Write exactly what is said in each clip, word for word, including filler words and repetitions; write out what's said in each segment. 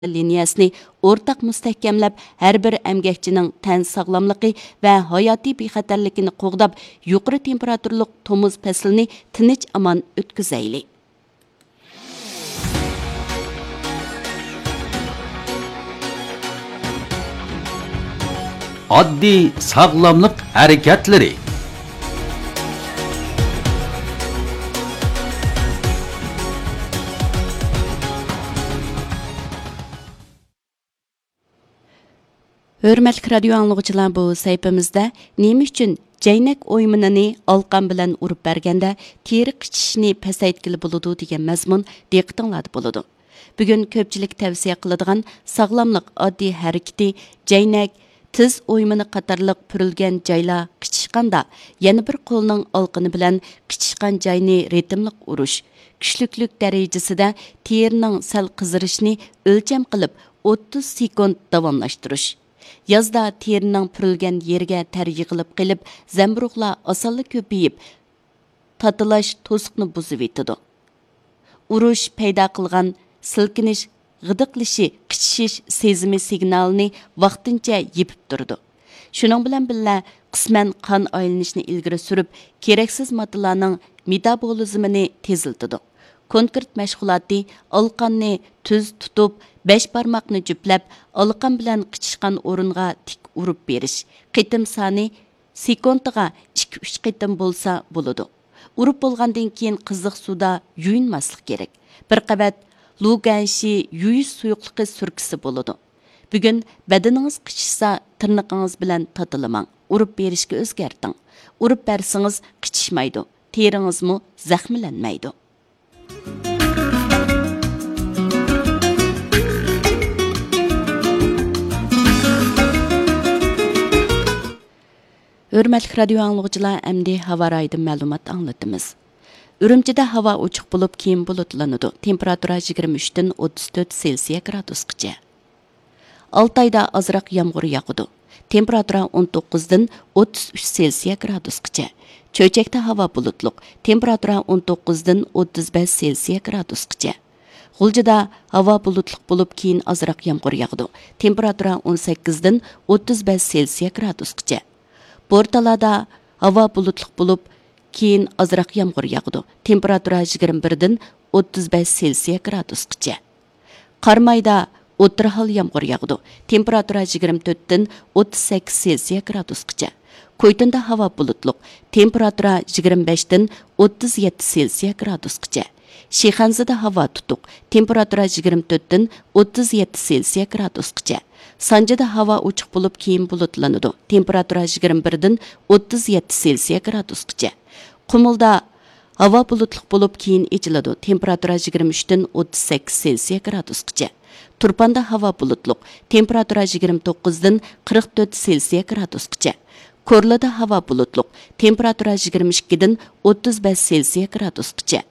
لىنىيەسىنى ئورتاق مۇستەھكەملەپ، ھەر بىر ئەمگەكچىنىڭ تەن ساغلاملىقى ۋە ھاياتىي بىخەتەرلىكىنى قوغداپ، يۇقىرى تېمپېراتۇرىلىق تومۇز پەسلىنى تىنچ-ئامان ئۆتكۈزەيلى. ئاددىي ساغلاملىق ھەرىكەتلىرى. ھۆرمەتلىك رادىيو ئاڭلىغۇچىلار، بۇ سەھىپىمىزدە نېمە ئۈچۈن جەينەك ئويمىنىنى ئالقان بىلەن ئۇرۇپ بەرگەندە تېرە قىچىشىشنى پەسەيتكىلى بولىدۇ دېگەن مەزمۇن دىققىتىڭلاردا بولىدۇ. بۈگۈن كۆپچىلىك تەۋسىيە قىلىدىغان ساغلاملىق ئاددىي ھەرىكىتى جەينەك، تىز ئويمىنى قاتارلىق پۈرۈلگەن جايلار قىچىشقاندا، يەنە بىر قولنىڭ ئالقىنى بىلەن قىچىشقان جاينى رىتىملىق ئۇرۇش، كۈچلۈكلۈك دەرىجىسىدە تېرىنىڭ سەل قىزىرىشىنى ئۆلچەم قىلىپ، ئوتتۇز سېكۇنت داۋاملاشتۇرۇش. يازدا تېرىنىڭ پۈرۈلگەن يېرىگە تەر يىغىلىپ قېلىپ، زەمبۇرۇغلار ئاسانلا كۆپىيىپ، تاتىلاش توسۇقنى بۇزۇۋېتىدۇ. ئۇرۇش پەيدا قىلغان سىلكىنىش، غىدىقلىشى، قىچىشىش سېزىمى سىگنالىنى ۋاقتىنچە يېپىپ تۇرىدۇ. شۇنىڭ بىلەن بىللە، قىسمەن قان ئايلىنىشنى ئىلگىرى سۈرۈپ، كېرەكسىز ماددىلارنىڭ مېتابولىزمىنى تېزلىتىدۇ. كونكرېت مەشغۇلاتى ئالقاننى تۈز تۇتۇپ، بەش بارماقنى جۈپلەپ، ئالقان بىلەن قىچىشقان ئورۇنغا تىك ئۇرۇپ بېرىش. قېتىم سانى سېكۇنتىغا ئىككى، ئۈچ قېتىم بولسا بولىدۇ. ئۇرۇپ بولغاندىن كېيىن قىزىق سۇدا يۇيۇنماسلىق كېرەك. بىر قەۋەت لۇگەنشى يۇيۇش سۇيۇقلۇقى سۈركىسە بولىدۇ. بۈگۈن بەدىنىڭىز قىچىشسا، تىرنىقىڭىز بىلەن تاتىلىماڭ. ئۇرۇپ بېرىشكە ئۆزگەرتىڭ. ئۇرۇپ بەرسىڭىز قىچىشمايدۇ، تېرىڭىزمۇ زەخىملەنمەيدۇ. ھۆرمەتلىك رادىيو ئاڭلىغۇچىلار، ئەمدى ھاۋا رايىدىن مەلۇمات ئاڭلىتىمىز. ئۈرۈمچىدە ھاۋا ئوچۇق بولۇپ، كېيىن بۇلۇتلىنىدۇ. تېمپېراتۇرا يىگىرمە ئۈچتىن ئوتتۇز تۆت سېلسىيە گرادۇسقىچە. ئالتايدا ئازراق يامغۇر ياغىدۇ. تېمپېراتۇرا ئون توققۇزدىن ئوتتۇز ئۈچ سېلسىيە گرادۇسقىچە. چۆچەكتە ھاۋا بۇلۇتلۇق. تېمپېراتۇرا ئون توققۇزدىن ئوتتۇز بەش سېلسىيە گرادۇسقىچە. غۇلجىدا ھاۋا بۇلۇتلۇق بولۇپ، كېيىن ئازراق يامغۇر ياغىدۇ. تېمپېراتۇرا ئون سەككىزدىن ئوتتۇز بەش سېلسىيە گرادۇسقىچە. بورتالادا ھاۋا بۇلۇتلۇق بولۇپ، كېيىن ئازراق يامغۇر ياغىدۇ. تېمپېراتۇرا يىگىرمە بىردىن ئوتتۇز بەش سېلسىيە گرادۇسقىچە. قارامايدا ئوتتۇرا ھال يامغۇر ياغىدۇ. تېمپېراتۇرا يىگىرمە تۆتتىن ئوتتۇز سەككىز سېلسىيە گرادۇسقىچە. كويتۇندا ھاۋا بۇلۇتلۇق. تېمپېراتۇرا يىگىرمە بەشتىن ئوتتۇز يەتتە سېلسىيە گرادۇسقىچە. شىخەنزىدە ھاۋا تۇتۇق. تېمپېراتۇرا يىگىرمە تۆتتىن ئوتتۇز يەتتە سېلسىيە گرادۇسقىچە. سانجىدا ھاۋا ئوچۇق بولۇپ، كېيىن بۇلۇتلىنىدۇ. تېمپېراتۇرا يىگىرمە بىردىن ئوتتۇز يەتتە سېلسىيە گرادۇسقىچە. قۇمۇلدا ھاۋا بۇلۇتلۇق بولۇپ، كېيىن ئېچىلىدۇ. تېمپېراتۇرا يىگىرمە ئۈچتىن ئوتتۇز سەككىز سېلسىيە گرادۇسقىچە. تۇرپاندا ھاۋا بۇلۇتلۇق. تېمپېراتۇرا يىگىرمە توققۇزدىن قىرىق تۆت سېلسىيە گرادۇسقىچە. كورلىدا ھاۋا بۇلۇتلۇق. تېمپېراتۇرا يىگىرمە ئىككىدىن ئوتتۇز بەش سېلسىيە گرادۇسقىچە.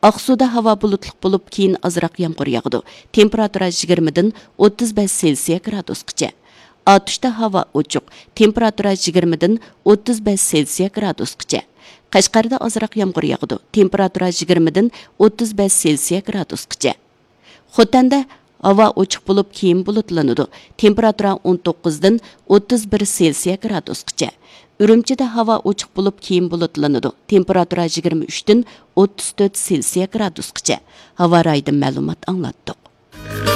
ئاقسۇدا ھاۋا بۇلۇتلۇق بولۇپ، كېيىن ئازراق يامغۇر ياغىدۇ. تېمپېراتۇرا يىگىرمىدىن ئوتتۇز بەش سېلسىيە گرادۇسقىچە. ئاتۇشتا ھاۋا ئوچۇق. تېمپېراتۇرا يىگىرمىدىن ئوتتۇز بەش سېلسىيە گرادۇسقىچە. قەشقەردە ئازراق يامغۇر ياغىدۇ. تېمپېراتۇرا يىگىرمىدىن ئوتتۇز بەش سېلسىيە گرادۇسقىچە. خوتەندە ھاۋا ئوچۇق بولۇپ، كېيىن بۇلۇتلىنىدۇ. تېمپېراتۇرا ئون توققۇزدىن ئوتتۇز بىر سېلسىيە گرادۇسقىچە. ئۈرۈمچىدە ھاۋا ئوچۇق بولۇپ، كېيىن بۇلۇتلىنىدۇ. تېمپېراتۇرا يىگىرمە ئۈچتىن ئوتتۇز تۆت سېلسىيە گرادۇسقىچە. ھاۋا رايىدىن مەلۇمات ئاڭلاتتۇق.